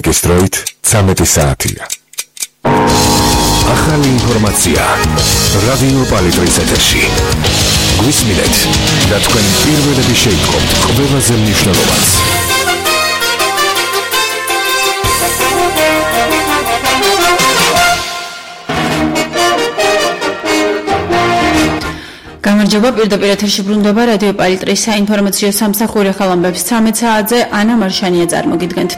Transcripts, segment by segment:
ამერიკის დროით 13 საათია. ახალი ინფორმაცია რადიო პალიტრის ეთერში. გვისმინეთ და თქვენ პირველები შეიტყობთ ყველაზე მნიშვნელოვანს. გამარჯობა, პირდაპირ ეთერში ბრუნდება რადიო პალიტრის საინფორმაციო სამსახური ხალხამბებს 13 საათზე ანა მარშანია წარმოგიდგენთ.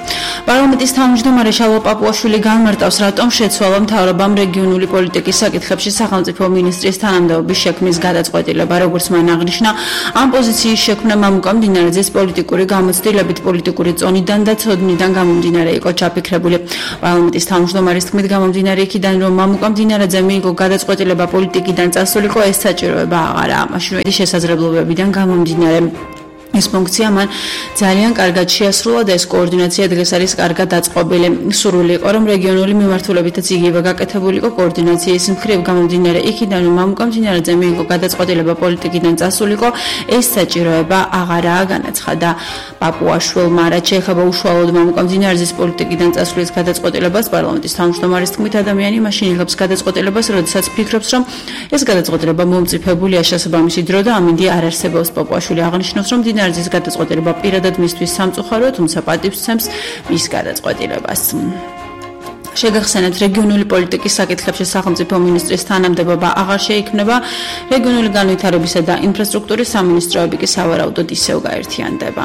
პარლამენტის თავმჯდომარე შალვა პაპუაშვილი განმარტავს, რატომ შეცვალა მთავრობამ რეგიონული პოლიტიკის საკითხებში სახელმწიფო მინისტრის თანამდებობის შექმნის გადაწყვეტილება, როგორც მან აღნიშნა, ამ პოზიციის შექმნა მამუკა მდინარაძის პოლიტიკური გამოცდილებით, პოლიტიკური წონიდან და ცოდნიდან გამომდინარე იყო ჩაფიქრებული. პარლამენტის თავმჯდომარის თქმით, გამომდინარე იქიდან, რომ მამუკა მდინარაძე მიიღო გადაწყვეტილება პოლიტიკიდან წასულიყო, ეს საჭიროება აღარა, მაშინ შესაძლებლობებიდან გამომდინარე. ეს ფუნქცია მან ძალიან კარგად შეასრულა და ეს კოორდინაცია დღეს არის კარგად დაწყობილი. სურვილი იყო, რომ რეგიონული მიმართულებითაც იგივე გაკეთებულიყო კოორდინაციის მხრივ გამომდინარე იქიდან, რომ მამუკა მდინარაძე მიიღო გადაწყვეტილება პოლიტიკიდან წასულიყო, ეს საჭიროება აღარაა, განაცხადა პაპუაშვილმა. რაც შეეხება უშუალოდ მამუკა მდინარაძის პოლიტიკიდან წასulis გადაწყვეტილებას, პარლამენტის თავმჯდომარის თქმით, ადამიანი მაშინ იღებს გადაწყვეტილებას, როდესაც ფიქრობს, რომ ეს გადაწყვეტილება მომწიფებულია შესაბამისი დრო და ამინდი არ არსებობს. პაპუაშვილი აღნიშნავს, რომ მდინარაძის გადაწყვეტილება პირადად მისთვის სამწუხაროა, თუმცა პატივს სცემს მის გადაწყვეტილებას. შეგახსენებთ, რეგიონული პოლიტიკის საკითხებში სახელმწიფო მინისტრის თანამდებობა აღარ შეიქმნება, რეგიონული განვითარებისა და ინფრასტრუქტურის სამინისტროები კი სავარაუდოდ ისევ გაერთიანდება.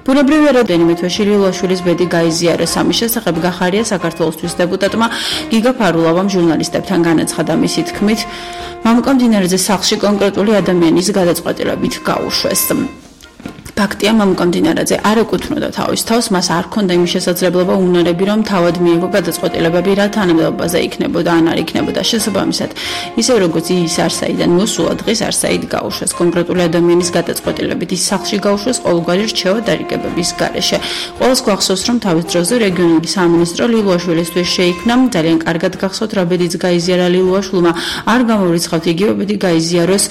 ბუნებრივი რადენიმე თვეში ლილოაშვილის ბედი გაიზიარეს. ამის შესახებ გახარია საქართველოსთვის დეპუტატმა გიგა ფარულავამ ჟურნალისტებთან განაცხადა. მისი თქმით, მამუკა მდინარაძეს სახლში კონკრეტული ადამიანის გადაწყვეტილებით გაუშვეს. ფაქტია, მამუკა მდინარაძე არ ეკუთვნოდა თავის თავს, მას არ ჰქონდა იმის შესაძლებლობა უნარები, რომ თავად მიიღო გადაწყვეტილებები, რა თანამდებობაზე იქნებოდა ან არ იქნებოდა. შესაბამისად, ისე როგორც ის არსაიდან მოსულა, დღეს არსაიდ გაუშვეს. კონკრეტული ადამიანის გადაწყვეტილებით ის სახლში გაუშვეს ყოველგვარი რჩევა დარიგებების გარეშე. ყველას გვახსოვს, რომ თავის დროზე რეგიონული სამინისტრო ლილოაშვილისთვის შეიქმნა. ძალიან კარგად გახსოვთ, რა ბედიც გაიზიარა ლილოაშვილმა, არ გამოვრიცხავთ იგივე ბედი გაიზიაროს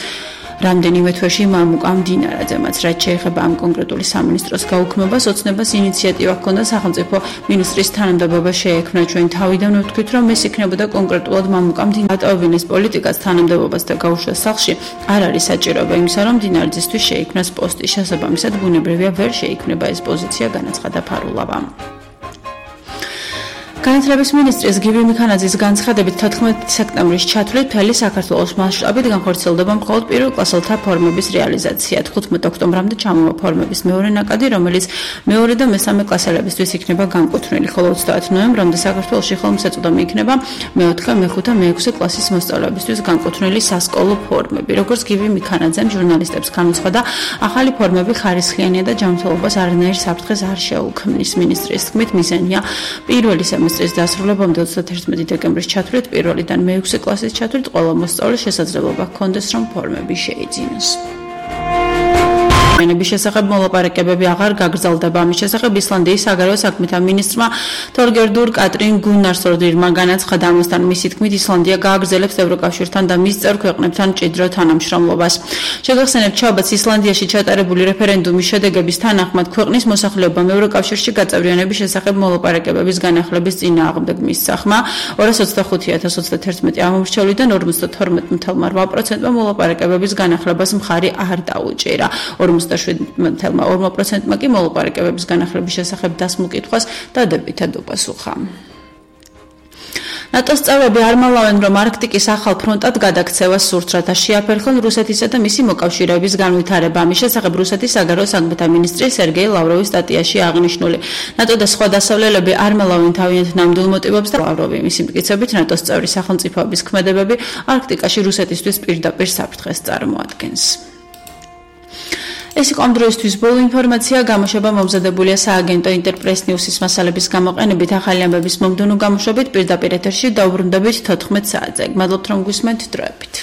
რამდენიმე თვეში მამუკა მდინარაძემაც. რაც შეეხება ამ კონკრეტული სამინისტროს გაუქმებას, ოცნებას ინიციატივა ჰქონდა სახელმწიფო მინისტრის თანამდებობა შეექმნა. ჩვენ თავიდან ვთქვით, რომ ეს იქნებოდა კონკრეტულად მამუკა მდინარაძის პოლიტიკას თანამდებობას და გაუშვას სახლში არ არის საჭიროება იმისა, რომ მდინარაძისთვის შეიქმნას პოსტი. შესაბამისად, ბუნებრივია ვერ შეიქმნება ეს პოზიცია, განაცხადა ფარულავა. განათლების მინისტრის გივი მიქანაძის განცხადებით 14 სექტემბრის ჩათვლით მთელი საქართველოს მასშტაბით განხორციელდება მხოლოდ პირველ კლასელთა ფორმების რეალიზაცია. 15 ოქტომბრამდე ჩამოვა ფორმების მეორე ნაკადი, რომელიც მეორე და მესამე კლასელებისთვის იქნება განკუთვნილი, ხოლო 30 ნოემბრამდე საქართველოში ხელმისაწვდომი იქნება მე-4, მე-5 და მე-6 კლასის მოსწავლეებისთვის განკუთვნილი სასკოლო ფორმები. როგორც გივი მიქანაძემ ჟურნალისტებს განუცხადა, ახალი ფორმები ხარისხიანია და ჯანმრთელობას არანაირ საფრთხეს არ შეუქმნის. მინისტრის თქმით, მიზანია პირველი სემესტრის დასრულებამდე 31 დეკემბრის ჩათვლით პირველიდან მე-6 კლასის ჩათვლით ყველა მოსწავლეს შესაძლებლობა ჰქონდეს, რომ ფორმები შეიძინოს. ენების შესახებ მოლაპარაკებები აღარ გაგრძელდება. ამის შესახებ ისლანდიის საგარეო საქმეთა მინისტრმა თორგერდურ კატრინ გუნნარსდორირმა განაცხადა. ამასთან მისი თქმით, ისლანდია გააგრძელებს ევროკავშირთან და მის წევრ ქვეყნებთან მჭიდრო თანამშრომლობას. შეგახსენებთ, შაბათს ისლანდიაში ჩატარებული რეფერენდუმის შედეგების თანახმად ქვეყნის მოსახლეობამ ევროკავშირში გაწევრიანების შესახებ მოლაპარაკებების განახლების წინააღმდეგ მისცახმა. 225,021 ამომრჩევლიდან 52,8%-მა მოლაპარაკებების განახლებას მხარი არ დაუჭირა. 47,2%-მა კი მოლაპარაკებების განახლების შესახებ დასმულ კითხვას დადებითად უპასუხა. ნატოს წევრები არ მალავენ, რომ არქტიკის ახალ ფრონტად გადაქცევას სურთ, რათა შეაფერხონ რუსეთისა და მისი მოკავშირეების განვითარება. ამის შესახებ რუსეთის საგარეო საქმეთა მინისტრი სერგეი ლავროვის სტატიაში აღნიშნული. ნატო და სხვა დასავლელები არ მალავენ თავიანთ ნამდვილ მოტივებს და ლავროვი მისი მტკიცებით, ნატოს წევრი სახელმწიფოების ქმედებები არქტიკაში რუსეთისთვის პირდაპირ საფრთხეს წარმოადგენს. ეს იყო ამ დროისთვის ბოლო ინფორმაცია. გამოშვება მომზადებულია სააგენტო ინტერპრეს ნიუსის მასალების გამოყენებით. ახალი ამბების მომდევნო გამოშვებით პირდაპირ ეთერში დაუბრუნდებით 14 საათზე. მადლობთ, რომ გვისმენთ. დროებით.